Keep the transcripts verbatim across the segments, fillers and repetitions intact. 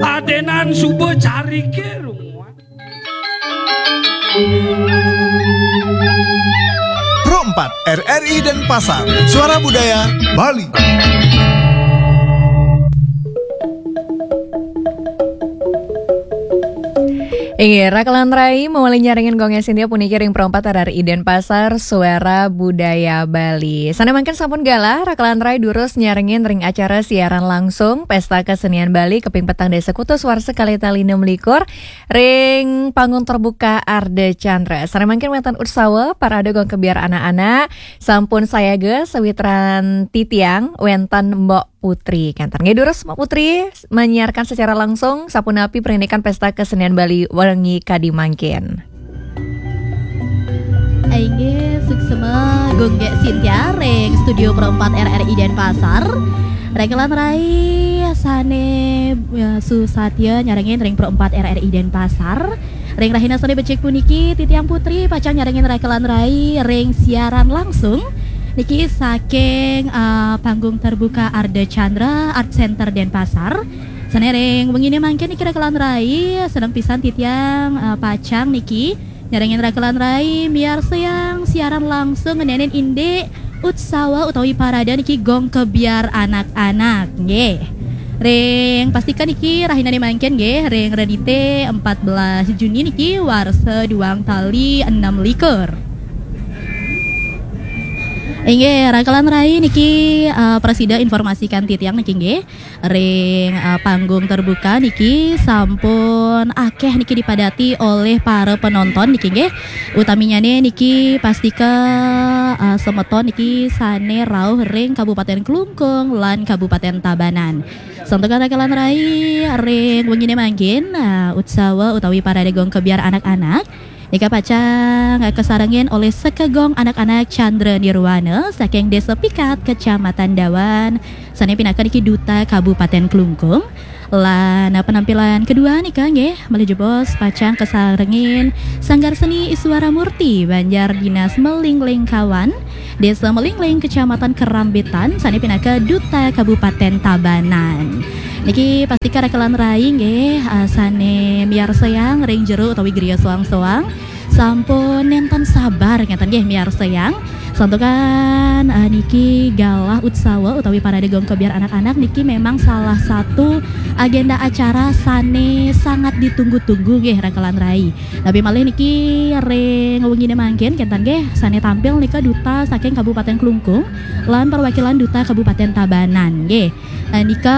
Adenan suba carike runguan. Pro empat R R I Denpasar, Suara Budaya Bali. Inggih, Rakelan Rai mawali nyarengin Gong Sintia puniki ring Pro empat R R I Denpasar, Suara Budaya Bali. Sane mangkin sampun galah, Rakelan Rai durus nyarengin ring acara siaran langsung Pesta Kesenian Bali kaping petang dasa kutus warsa kalih tali enam likur ring panggung terbuka Arda Chandra. Sane mangkin wenten utsawa parade gong kebyar anak-anak, sampun sayaga sawitran titiang wenten Mbok Putri. Kenten nggih durus Mbok Putri menyiarkan secara langsung sapunapi perinikan Pesta Kesenian Bali wengi kadi mangkin. Inggih, suksma Gung Gek Sintia ring Studio Pro empat R R I Denpasar. Rakelan Rai sane, ya, susatya nyarengin ring Pro empat R R I Denpasar. Ring rahina sane becik puniki, titiang Putri pacang nyarengin Rakelan Rai ring siaran langsung niki saking, eh, panggung terbuka Arda Chandra Art Center Denpasar. Sane ring wengine mangkin niki Rakelan Rai, seneng pisan titiang, eh, pacang niki nyarengin Rakelan Rai miarsayang siaran langsung ngenenin indik utsawa utawi parade niki gong kebyar anak-anak nggih. Ring pastika niki rahinane mangkin nggih, ring Redite empat belas Juni niki warsa duang tali enam likur. Inggih, Rakelan Rai niki, eh, prasida informasikan titiang niki nggih. Ring, eh, panggung terbuka niki sampun akeh niki dipadati oleh para penonton niki nggih. Utaminyane niki pastika, eh, semeton niki sane rauh ring Kabupaten Klungkung lan Kabupaten Tabanan. Santukan Rakelan Rai ring wengine mangkin, eh, utsawa utawi parade gong kebyar anak-anak nika pacang kasarengin olih Sekegong Anak-anak Chandra Nirwana saking Desa Pikat, Kecamatan Dawan, sane pinaka niki Duta Kabupaten Klungkung. Lan penampilan kedua nika nggih, malih jebos pacang kasarengin Sanggar Seni Iswara Murti, Banjar Dinas Melinglingkawan, Desa Melingling, Kecamatan Kerambitan, sane pinaka Duta Kabupaten Tabanan. Niki pastika Rakelan Rai nggih, eh, sane miarsayang ring jero utawi griya soang-soang sampun nenten sabar ngeten nggih miarsayang. Santukan, eh, niki galah utsawa utawi parade gong kebyar anak-anak niki memang salah satu agenda acara sane sangat ditunggu-tunggu nggih Rakelan Rai. Tapi malih niki ring wengine mangkin kenten nggih sane tampil nika duta saking Kabupaten Klungkung lan perwakilan duta Kabupaten Tabanan nggih. Eh, nika,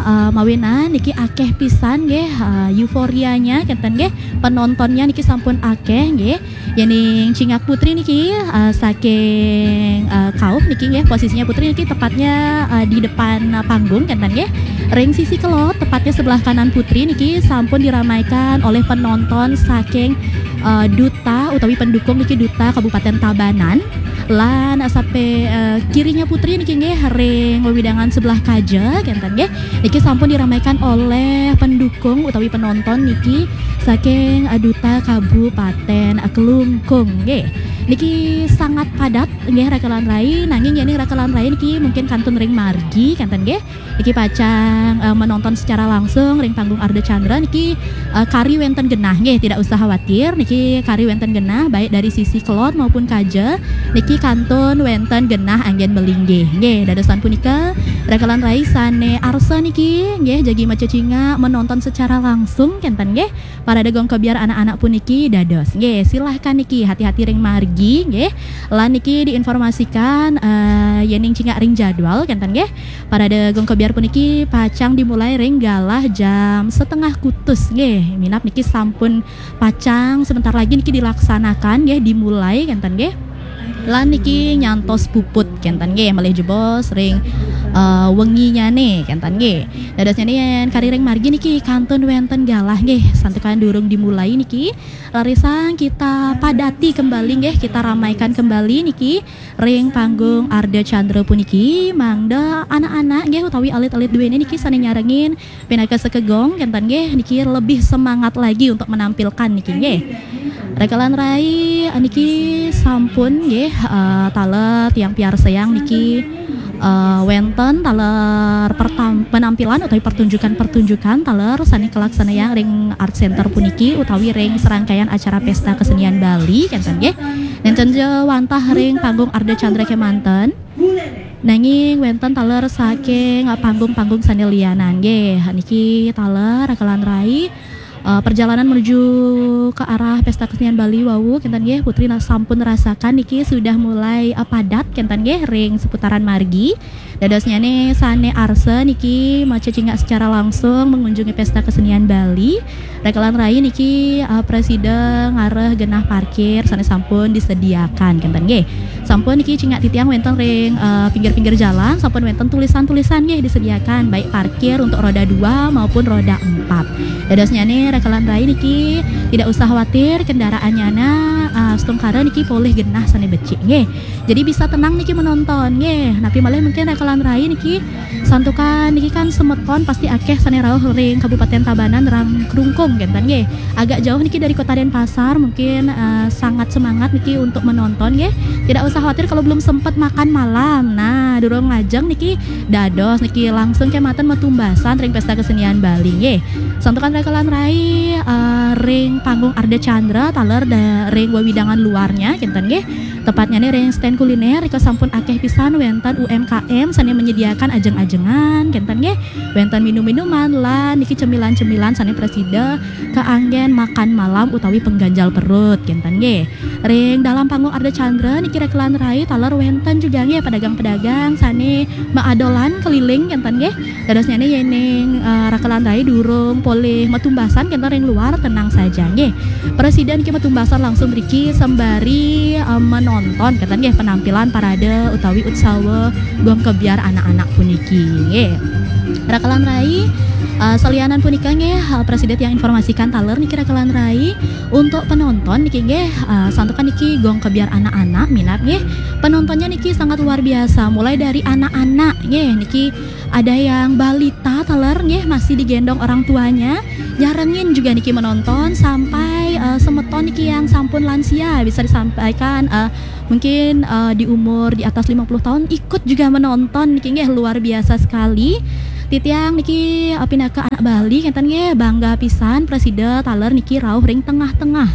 eh, mawinan niki akeh pisan nggih, eh, euforianya kenten nggih, penontonnya niki sampun akeh nggih. Yening cingak Putri niki, eh, saking, eh, kauh niki nggih, posisinya Putri niki tepatnya, eh, di depan, eh, panggung kenten nggih. Ring sisi kelod tepatnya sebelah kanan Putri niki sampun diramaikan oleh penonton saking, eh, duta utawi pendukung niki duta Kabupaten Tabanan. Lan sape, eh, kirinya Putri niki nggih ring wewidangan sebelah kaja kenten nggih. Niki sampun diramaikan oleh pendukung utawi penonton niki saking, eh, duta Kabupaten, eh, Klungkung nggih. Niki sangat padat nggih Rakelan Rai, nanging yening Rakelan Rai niki mungkin kantun ring margi kenten nggih. Niki pacang, eh, menonton secara langsung ring panggung Arda Chandra niki, eh, kari wenten genah nggih, tidak usah khawatir niki kari wenten genah baik dari sisi kelod maupun kaja niki kantun wenten genah anggen malinggih nggih. Dadosan punika Rakelan Rai sane arsa niki nggih jagi macecingak menonton secara langsung kenten nggih. Parade gong kebyar anak-anak puniki dados nggih. Silahkan niki hati-hati ring margi nggih. Lan niki diinformasikan, eh, yening cingak ring jadwal kenten nggih. Parade gong kebyar puniki pacang dimulai ring galah jam setengah kutus nggih. Minab niki sampun pacang sebentar lagi niki dilaksanakan nggih, dimulai kenten nggih. Lan niki nyantos puput kenten nggih, malih jebos ring, eh, wenginyane kenten nggih. Dadosnyane yen kari ring margi niki kantun wenten galah nggih, santukan durung dimulai niki. Rarisang kita padati kembali nggih, kita ramaikan kembali niki ring panggung Arda Chandra puniki, mangda anak-anak nggih utawi alit-alit duene niki sane nyarengin pinaka sekegong kenten nggih, niki lebih semangat lagi untuk menampilkan niki nggih. Rakelan Rai niki sampun nggih, eh, taler tiang piarsayang niki Eh, wénten taler pertam-, penampilan utawi pertunjukan-pertunjukan taler sané kalaksanayang ring Art Center puniki utawi ring serangkaian acara Pesta Kesenian Bali, kénten nggih. Nénten ja wantah ring panggung Ardha Candra kémanten. Nanging wénten taler saking panggung-panggung sané lianan nggih. Niki taler Raka lan Rai, eh, perjalanan menuju ke arah Pesta Kesenian Bali wau, kénten nggih, Putri na-, sampun rasakan niki sudah mulai, eh, padat, kénten nggih, ring seputaran margi. Dadosnyané sané arsa niki macecingak secara langsung mengunjungi Pesta Kesenian Bali. Raka lan Rai niki, eh, prasida ngarah genah parkir sané sampun disediakan, kénten nggih. Sampun niki cingak titiang wénten ring, eh, pinggir-pinggir jalan, sampun wénten tulisan-tulisan nggih disediakan, baik parkir untuk roda dua maupun roda empat. Dadosnyané Raka lan Rai niki tidak usah khawatir kendaraannyana, eh, astungkara niki polih genah sané becik nggih. Jadi bisa tenang niki menonton nggih. Napi malih mungkin Raka lan Rai niki santukan niki kan semeton pasti akéh sané rauh ring Kabupaten Tabanan ring Klungkung, kénten nggih. Agak jauh niki dari Kota Denpasar, mungkin, eh, sangat semangat niki untuk menonton nggih. Tidak usah khawatir kalau belum sempat makan malam. Nah, durung ngajeng niki dados niki langsung kémanten matumbasan ring Pesta Kesenian Bali nggih. Santukan Raka lan Rai, eh, ring panggung Ardha Candra taler da-, ring wewidangan luarnya, kénten nggih. Tepatnyané ring stand kuliner, rika sampun akéh pisan wénten U M K M sané menyediakan ajeng-ajengan, kénten nggih. Wénten minum-minuman lan niki cemilan-cemilan sané prasida kaanggén makan malam utawi pengganjal perut, kénten nggih. Ring dalam panggung Ardha Candra niki Raka lan Rai taler wénten juga nggih pedagang-pedagang sané maadolan keliling, kénten nggih. Dadosnyané yéning, eh, Raka lan Rai durung polih matumbasan kénten ring luar, tenang saja nggih. Prasida niki matumbasan langsung mriki sembari, eh, menonton, kénten nggih, penampilan parade utawi utsawa Gong Kebyar anak-anak puniki nggih. Raka lan Rai, eh, salianan punika nggih, eh, prasida tiang informasikan taler niki Raka lan Rai, untuk penonton niki nggih, eh, santukan niki Gong Kebyar anak-anak minab nggih. Penontonnya niki sangat luar biasa, mulai dari anak-anak nggih, niki ada yang balita taler nggih, masih digendong orang tuanya, nyarengin juga niki menonton, sampai, eh, semeton niki yang sampun lansia, bisa disampaikan, eh, mungkin, eh, di umur di atas lima puluh tahun ikut juga menonton niki nggih, luar biasa sekali. Titiang niki, eh, pinaka anak Bali, kénten nggih, bangga pisan prasida taler niki rauh ring tengah-tengah.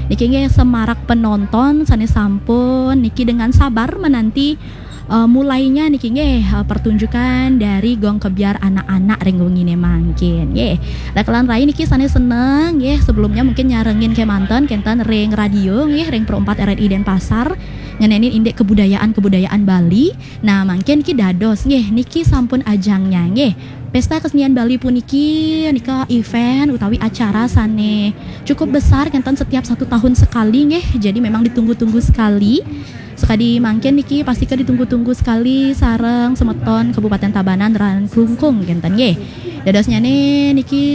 Niki nggih semarak penonton sané sampun niki dengan sabar menanti, eh, mulainya niki nggih, eh, pertunjukan dari Gong Kebyar anak-anak ring wenginé mangkin nggih. Raka lan Rai niki sané seneng nggih, sebelumnya mungkin nyarengin kémanten kénten ring radio nggih, ring Pro empat R R I Denpasar, ngenénin indik kebudayaan-kebudayaan Bali. Nah, mangkin niki dados nggih, niki sampun ajangnya nggih. Pesta Kesenian Bali puniki nika event utawi acara sané cukup besar, kénten setiap satu tahun sekali nggih. Jadi memang ditunggu-tunggu sekali. Sekadi mangkin niki pastika ditunggu-tunggu sekali sareng semeton Kabupaten Tabanan ring Klungkung, kénten nggih. Dadosnyané niki,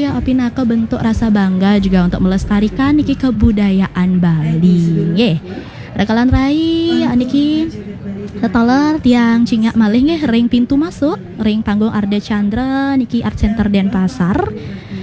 eh, pinaka bentuk rasa bangga juga untuk melestarikan niki kebudayaan Bali nggih. Raka lan Rai, eh, niki taler tiang cingak malih nggih ring pintu masuk ring panggung Ardha Candra niki Art Center Denpasar.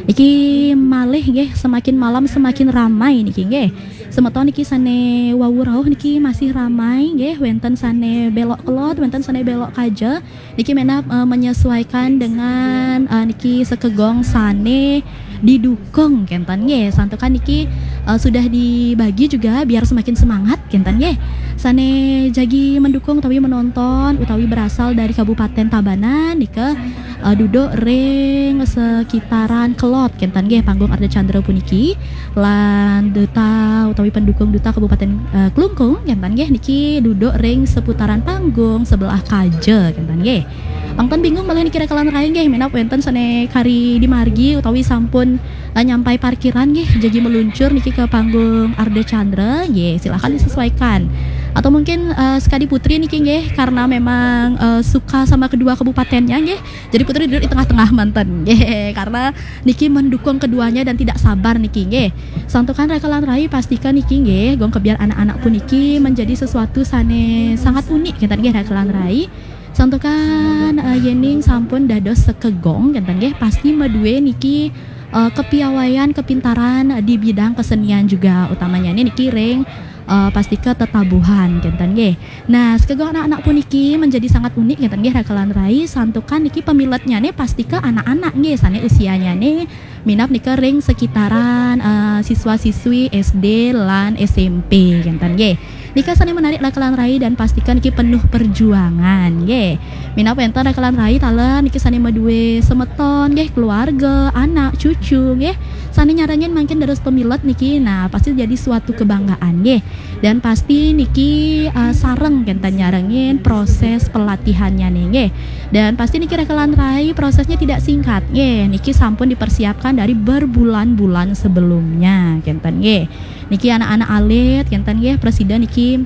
Niki malih nggih, semakin malam semakin ramai niki nggih. Semeton niki sané wau rauh niki masih ramai nggih, wénten sané belok kelod, wénten sané belok kaja. Niki minab, eh, menyesuaikan dengan, eh, niki sekegong sané didukung, kénten nggih. Santukan niki, eh, sudah dibagi juga biar semakin semangat, kénten nggih. Sané jagi mendukung utawi menonton utawi berasal dari Kabupaten Tabanan nika, eh, duduk ring sekitaran kelod, kénten nggih, panggung Ardha Candra puniki. Lan duta utawi pendukung duta Kabupaten, eh, Klungkung, kénten nggih, niki duduk ring seputaran panggung sebelah kaja, kénten nggih. Pangten bingung malih niki Raka lan Rai nggih, minab wénten sané kari di margi utawi sampun, eh, nyampai parkiran nggih, jagi meluncur niki ke panggung Ardha Candra nggih, silahkan disesuaikan. Atau mungkin, eh, sekadi Putri niki nggih, karena memang, eh, suka sama kedua kabupatennya nggih, jadi Putri duduk di tengah-tengah manten nggih, karena niki mendukung keduanya dan tidak sabar niki nggih. Santukan Raka lan Rai, pastika niki nggih, Gong Kebyar anak-anak puniki menjadi sesuatu sané sangat unik, kénten nggih, Raka lan Rai. Santukan, eh, yéning sampun dados sekegong, kénten nggih, pasti madué niki, eh, kepiawaian, kepintaran di bidang kesenian juga, utamanya nih niki ring eh, pastika tetabuhan kenten nggih. Nah, sekegong anak-anak puniki menjadi sangat unik kenten nggih, rakelan rai, santukan niki pemiletnya nih pastika anak-anak nggih, sane usianya nih minap nika ring sekitaran eh, siswa-siswi S D lan S M P kenten nggih. Nika sane menarik rakelan rai dan pastika niki penuh perjuangan nggih. Minap wenten rakelan rai taler niki sane madue semeton nggih, keluarga, anak, cucu nggih. Sane nyarengin mangkin dados pemilet niki, nah, pasti jadi suatu kebanggaan nggih. Dan pasti niki eh, sareng kenten nyarengin proses pelatihannya nih nggih. Dan pasti niki rakelan rai prosesnya tidak singkat nggih. Niki sampun dipersiapkan dari berbulan-bulan sebelumnya kenten nggih. Niki anak-anak alit kenten nggih, presiden niki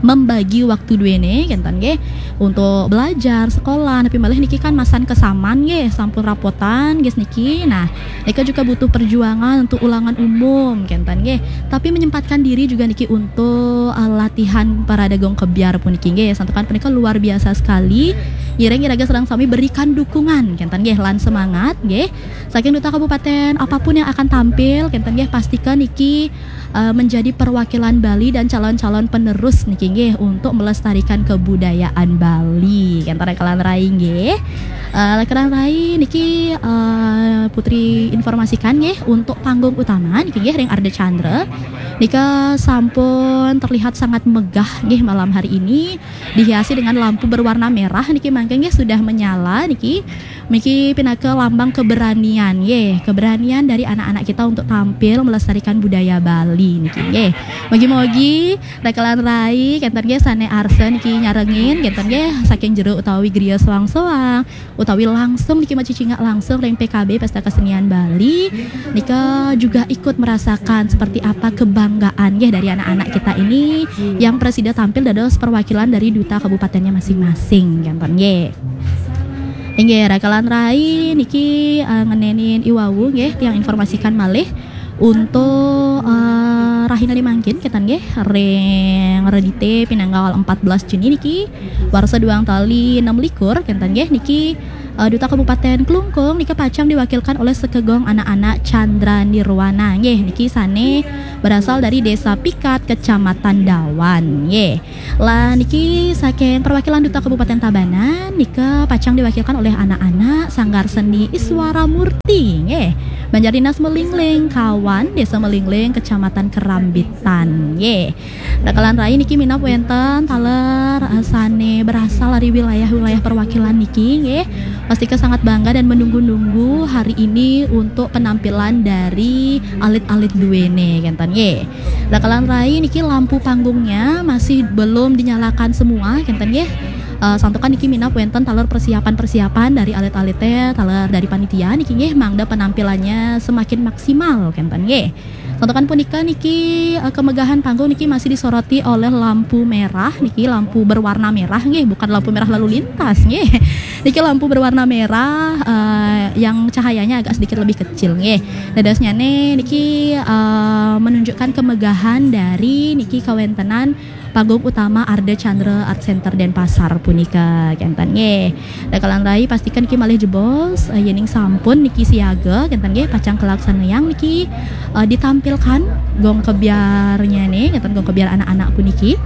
membagi waktu duene kenten nggih untuk belajar, sekolah, tapi malih niki kan masan kesaman nggih, sampun rapotan nggih niki. Nah, nika juga butuh perjuangan untuk ulangan umum kenten nggih. Tapi menyempatkan diri juga niki untuk eh, latihan parade gong kebyar puniki nggih. Santukan punika luar biasa sekali. Ngiring iraga sareng sami berikan dukungan kenten nggih lan semangat nggih. Saking duta kabupaten apapun yang akan tampil kenten nggih, pastikan niki eh, menjadi perwakilan Bali dan calon-calon penerus niki nggih untuk melestarikan kebudayaan Bali. Kenten rakelan rai nggih. Eh, rakelan rai niki eh, Putri informasikan nggih untuk panggung utama niki nggih ring Arda Chandra. Nika sampun terlihat sangat megah nggih malam hari ini, dihiasi dengan lampu berwarna merah niki mangke nggih sudah menyala niki. Niki pinaka lambang keberanian nggih, keberanian dari anak-anak kita untuk tampil melestarikan budaya Bali niki nggih. Mogi-mogi rakelan rai kenten nggih sane arsa niki nyarengin kenten nggih saking jero utawi griya soang-soang utawi langsung niki macicingak langsung ring P K B Pesta Kesenian Bali, nika juga ikut merasakan seperti apa kebanggaan nggih dari anak-anak kita ini yang presida tampil dados perwakilan dari duta kabupatennya masing-masing kenten nggih. Inggih, rakelan rai niki eh, ngenenin iwawu nggih, tiang informasikan malih untuk eh, rahina limangkin kenten nggih, ring Redite pinanggal empat belas Juni niki warsa duang tali enam likur kenten nggih niki eh, Duta Kabupaten Klungkung nika pacang diwakilkan oleh sekegong anak-anak Chandra Nirwana nggih, niki sane berasal dari Desa Pikat, Kecamatan Dawan nggih. Lah niki saking perwakilan Duta Kabupaten Tabanan nika pacang diwakilkan oleh anak-anak Sanggar Seni Iswara Murti nggih. Banjar Dinas Melingling, Kawan, Desa Melingling, Kecamatan Kerambitan nggih. Rakelan rai niki minap wenten taler eh, sane berasal dari wilayah-wilayah perwakilan niki nggih. Pastika sangat bangga dan menunggu-nunggu hari ini untuk penampilan dari alit-alit duene kenten nggih. Rakelan rai niki lampu panggungnya masih belum dinyalakan semua kenten nggih. Eh, santukan niki minap wenten taler persiapan-persiapan dari alit-alite, taler dari panitia niki nggih, mangda penampilannya semakin maksimal kenten nggih. Santukan punika niki eh, kemegahan panggung niki masih disoroti oleh lampu merah niki, lampu berwarna merah nggih, bukan lampu merah lalu lintas nggih. Niki lampu berwarna merah eh, yang cahayanya agak sedikit lebih kecil nggih. Dadosnyane niki eh, menunjukkan kemegahan dari niki kawentenan panggung utama Arda Chandra Art Center Denpasar punika kenten nggih. Rakelan rai pastikan niki malih jebos eh, yening sampun niki siaga kenten nggih, pacang kalaksanayang niki eh, ditampilkan gong kebyarnya nih, kenten gong kebyar anak-anak puniki.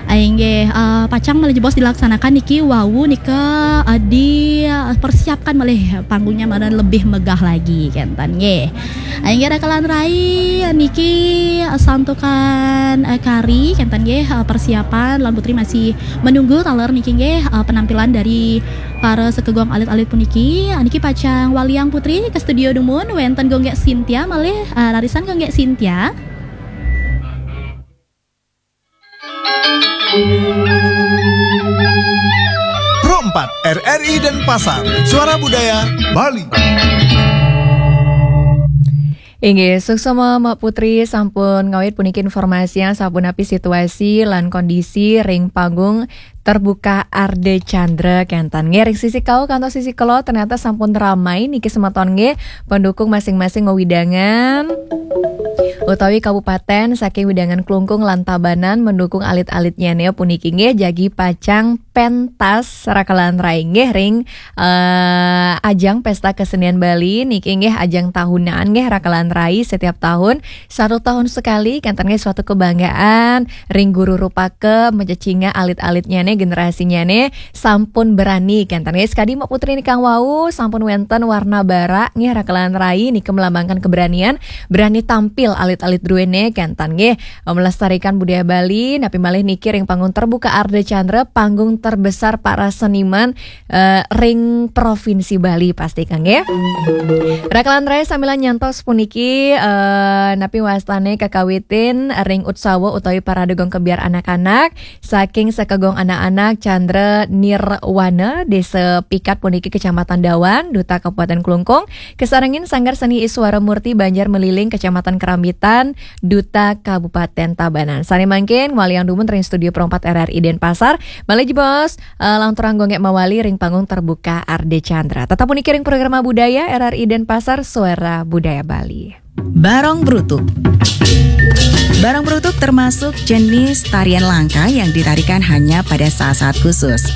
Inggih, eh, pacang malih jebos dilaksanakan niki wawu nika eh, dipersiapkan malih panggungnya mangda lebih megah lagi kenten nggih. Inggih rakelan rai niki eh, santukan eh, kari kenten nggih, eh, persiapan lan Putri masih menunggu taler niki nggih eh, penampilan dari para sekegong alit-alit puniki. Niki pacang waliang Putri ke studio dumun, wenten Gonggek Sintia malih eh, rarisan Gonggek Sintia. Pro empat R R I Denpasar, Suara Budaya Bali. Inggih, suksma Mak Putri sampun ngawit puniki informasi yang sapunapi situasi lan kondisi ring panggung Terbuka Ardha Candra, kénten nggih. Ring sisi kawu kantos sisi kula ternyata sampun ramai niki semeton nggih, pendukung masing-masing wewidangan utawi kabupaten saking wewidangan Klungkung lan Tabanan mendukung alit-alitnyané puniki nggih, jagi pacang pentas rakelan rai nggih ring eh, ajang Pesta Kesenian Bali niki nggih ajang tahunan nggih rakelan rai setiap tahun, satu tahun sekali, kénten nggih suatu kebanggaan ring guru rupaka, macecinga alit-alitnyané, generasinyané sampun berani, kénten nggih. Sekadi Mbak Putri nikang wau sampun wénten warna barak nggih rakelan rai niki melambangkan keberanian, berani tampil alit-alit druéné, kénten nggih. Eh, melestarikan budaya Bali, napi malih niki ring panggung terbuka Ardha Candra, panggung terbesar para seniman eh, ring Provinsi Bali pasti kang nggih. Rakelan rai samilan nyantos puniki eh, napi wastané kakawitin ring utsawa utawi parade gong kebyar anak-anak saking Sekagong Anak-anak Candra Nirwana, Desa Pikat puniki Kecamatan Dawan, Duta Kabupaten Klungkung, kasarengin Sanggar Seni Iswara Murti Banjar Meliling Kecamatan Kerambitan, Duta Kabupaten Tabanan. Sané mangkin waliang dumun ring studio perempat R R I Denpasar, malih jebos eh, lanturang gonggé mawali ring panggung terbuka Ardha Candra. Tetap puniki ring Programa Budaya R R I Denpasar, Suara Budaya Bali. Barong Brutuk. Barong Brutuk termasuk jenis tarian langka yang ditarikan hanya pada saat-saat khusus.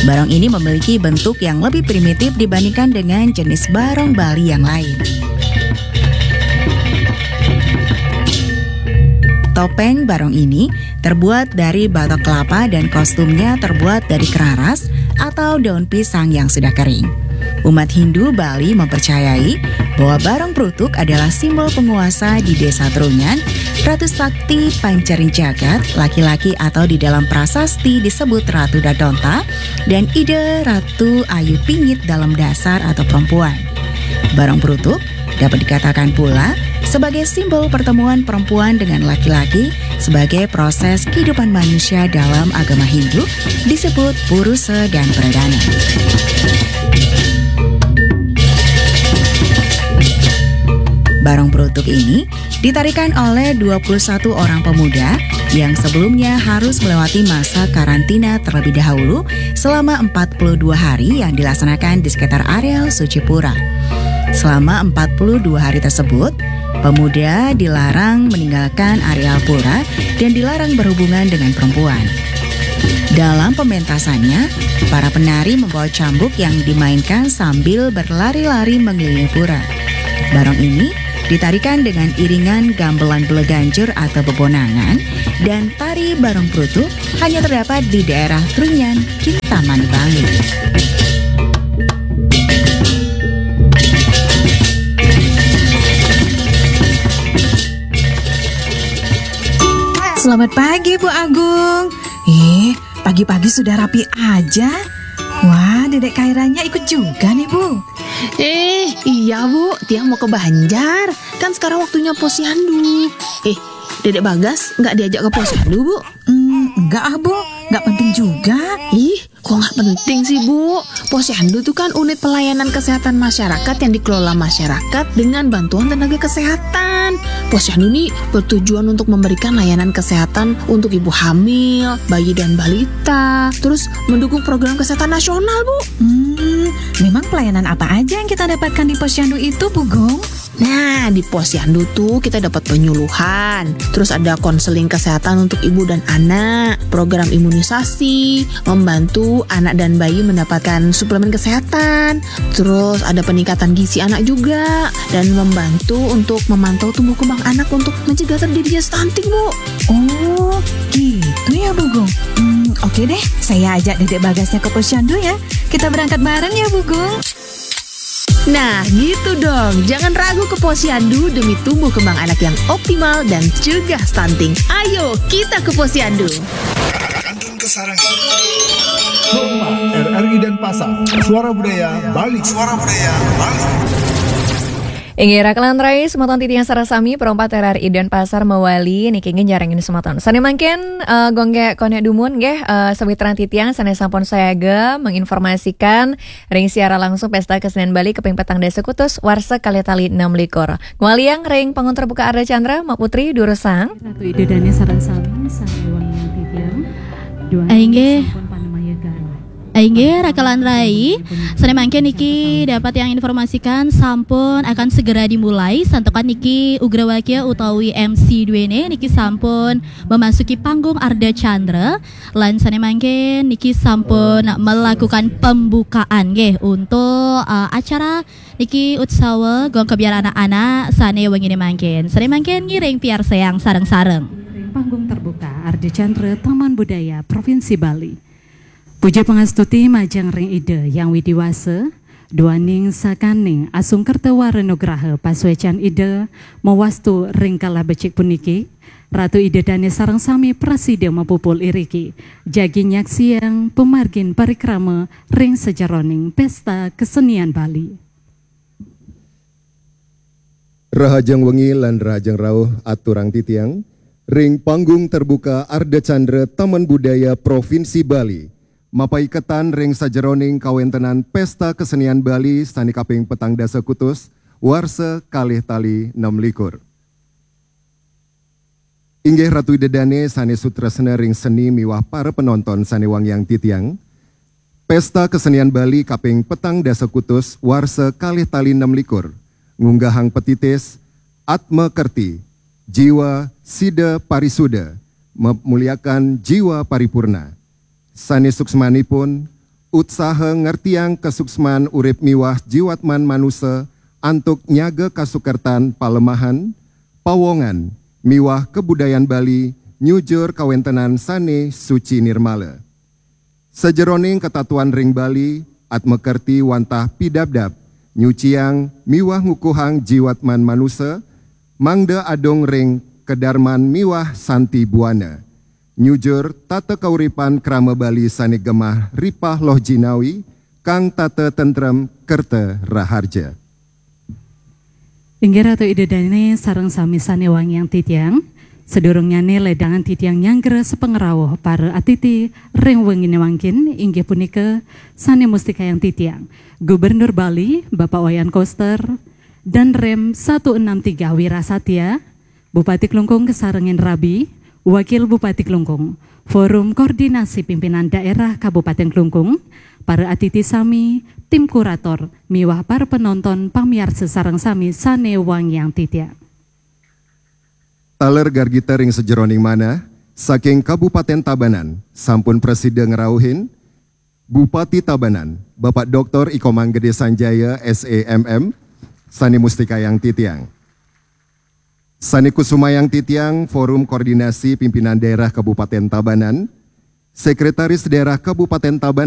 Barong ini memiliki bentuk yang lebih primitif dibandingkan dengan jenis barong Bali yang lain. Topeng barong ini terbuat dari batok kelapa dan kostumnya terbuat dari keraras atau daun pisang yang sudah kering. Umat Hindu Bali mempercayai bahwa Barong Brutuk adalah simbol penguasa di Desa Trunyan, Ratu Sakti Pancaring Jagat, laki-laki atau di dalam prasasti disebut Ratu Dadonta, dan Ida Ratu Ayu Pingit dalam dasar atau perempuan. Barong Brutuk dapat dikatakan pula sebagai simbol pertemuan perempuan dengan laki-laki sebagai proses kehidupan manusia dalam agama Hindu disebut purusa dan pradana. Barong Brutuk ini ditarikan oleh dua puluh satu orang pemuda yang sebelumnya harus melewati masa karantina terlebih dahulu selama empat puluh dua hari yang dilaksanakan di sekitar areal Sucipura. Selama empat puluh dua hari tersebut, pemuda dilarang meninggalkan areal pura dan dilarang berhubungan dengan perempuan. Dalam pementasannya, para penari membawa cambuk yang dimainkan sambil berlari-lari mengelilingi pura. Barong ini ditarikan dengan iringan gamelan beleganjur atau bebonangan, dan tari Barong Brutuk hanya terdapat di daerah Trunyan, Kintamani, Bali. Selamat pagi, Bu Agung. Eh, pagi-pagi sudah rapi aja. Wah, Dedek Kairanya ikut juga nih, Bu. Eh, iya, Bu. Tiang mau ke Banjar. Kan sekarang waktunya posyandu. Eh, Dedek Bagas nggak diajak ke posyandu, Bu? Hmm, enggak ah, Bu. Nggak penting juga. Ih, kok nggak penting sih, Bu? Posyandu tuh kan unit pelayanan kesehatan masyarakat yang dikelola masyarakat dengan bantuan tenaga kesehatan. Posyandu nih bertujuan untuk memberikan layanan kesehatan untuk ibu hamil, bayi dan balita, terus mendukung program kesehatan nasional, Bu. Hmm, memang pelayanan apa aja yang kita dapatkan di posyandu itu, Bu Gung? Nah, di posyandu tuh kita dapat penyuluhan, terus ada konseling kesehatan untuk ibu dan anak, program imunisasi, membantu anak dan bayi mendapatkan suplemen kesehatan, terus ada peningkatan gizi anak juga, dan membantu untuk memantau tumbuh kembang anak untuk mencegah terjadinya stunting, Bu. Oh, gitu ya, Bu Gung. Hmm, oke deh, saya ajak Dedek Bagasnya ke posyandu ya. Kita berangkat bareng ya, Bu Gung. Nah, gitu dong. Jangan ragu ke posyandu demi tumbuh kembang anak yang optimal dan cegah stunting. Ayo, kita ke posyandu. Kantun Kesarangan. Rumah R R I Denpasar. Suara Budaya Bali. Suara Budaya Bali. Inggih, rakelan rai semeton titiang sareng sami, perompat R R I Denpasar mawali niki nggih nyarengin semeton. Sané mangkin eh, gonggé koné dumun nggih eh, sawitran titiang sané sampun sayaga menginformasikan ring siaran langsung Pesta Kesenian Bali kaping petang dasa kutus warsa kalih tali enam likur. Ngwaliang ring panggung terbuka Ardha Candra, Mak Putri, durusang. Ratu Ida Dané sareng sami, sané wangiang titiang. Duaning Inggih. Sampun panemaya Inggih, raka lan rai. Sané mangkin niki dapat yang informasikan sampun akan segera dimulai. Santukan niki Ugrawakia utawi M C duene niki sampun memasuki panggung Ardha Candra. Lan sané mangkin niki sampun melakukan pembukaan nggih untuk uh, acara niki utsawa gong kebyar anak-anak sané wengine mangkin. Sané mangkin ngiring piarsayang sareng-sareng. Panggung terbuka Ardha Candra Taman Budaya Provinsi Bali. Puja pangastuti majeng ring Ida Hyang Widi Wasa, duaning sakaning asung kerta wara nugraha pasuecan Ida mawastu ring kala becik puniki, Ratu Ida Dane sareng sami prasida mapupul iriki, jagi nyaksiang pamargin parikrama ring sajeroning Pesta Kesenian Bali. Rahajeng wengi lan rahajeng rauh aturang titiang ring panggung terbuka Ardha Candra Taman Budaya Provinsi Bali. Mapaiketan ring sajeroning kawentenan Pesta Kesenian Bali sane kaping petang dasa kutus, warsa kalih tali enam likur. Inggih Ratu Ida Dane sane sutresna ring seni miwah para penonton sane wangiang titiang. Pesta Kesenian Bali kaping petang dasa kutus warsa kalih tali enam likur ngunggahang petitis Atma Kerti, Jiwa Sida Parisuda, Memuliakan Jiwa Paripurna. Sane suksmanipun, utsaha ngertiang kasuksman urip miwah jiwatman manusa antuk nyaga kasukertan palemahan, pawongan, miwah kabudayan Bali nyujur kawentenan sane suci nirmala. Sajeroning katatuan ring Bali, Atma Kerti wantah pidabdab, nyuciang miwah ngukuhang jiwatman manusa, mangda adung ring kadarman miwah santi buana. Nyujur tata kauripan krama Bali sane gemah ripah loh jinawi, kang tata tentrem kerta raharja. Inggih Ratu Ida Dane sareng sami sane wangiang titiang. Sadurungnyane ledangan titiang nyanggra sapangrauh para atiti ring wengine mangkin inggih punika sane mustikayang titiang Gubernur Bali Bapak Wayan Koster, Danrem satu enam tiga Wirasatya, Bupati Klungkung kasarengin rabi, Wakil Bupati Klungkung, Forum Koordinasi Pimpinan Daerah Kabupaten Klungkung, para atiti sami, tim kurator, miwah para penonton pamiarsa sareng sami sane wangiang titiang. Taler gargita ring sajeroning manah, saking Kabupaten Tabanan, sampun prasida ngrauhin, Bupati Tabanan, Bapak Doktor I Komang Gede Sanjaya, S E M M, sane mustikayang titiang. Sane kusumayang titiang, Forum Koordinasi Pimpinan Daerah Kabupaten Tabanan, Sekretaris Daerah Kabupaten Tabanan,